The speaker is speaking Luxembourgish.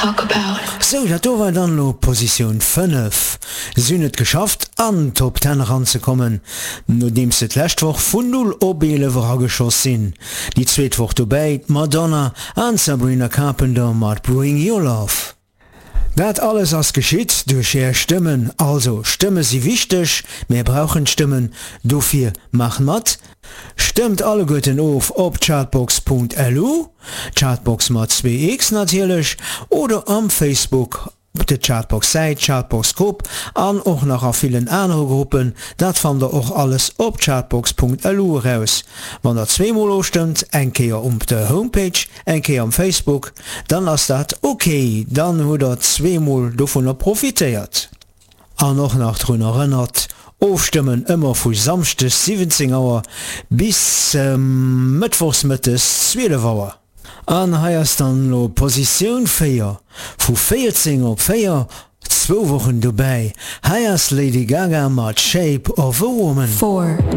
talk about. Sou, dat do war dann elo Positioun 5. Si hunn et geschafft an d'Top Ten eranzekommen, nodeems se d'lescht Woch vun 0 op 11 erageschoss sinn. Déi zweet Woch dobäi d'Madonna an d'Sabrina Carpenter mat Bring Your Love. Dat alles ass geschitt duerch är Stëmmen. Also, Stëmme si wichteg, mär brauchen d'Stëmmen, dofir maacht mat! Stëmmt alleguerten of op chartbox.lu, Chartbox mat 2x natierlech, oder am Facebook op de Chartbox Säit, Chartbox Grupp an och nach a villen anere Gruppen. Dat fannt der och alles op chartbox.lu eraus. Wann der zweemol ofstëmmt, eng Kéier um der Homepage, eng Kéier um Facebook, dann ass dat ok, dann hutt der zweemol dovunner profitéiert. An och nach drun erënnert, ofstëmmen ëmmer vu Samschdes 17 Auer bis Mëttwochs mëttes 12 Auer. An hei ass dann elo Positioun 4, vu 14 op 4, zwou Wochen dobäi, hei ass Lady Gaga mat Shape of a Woman. 4.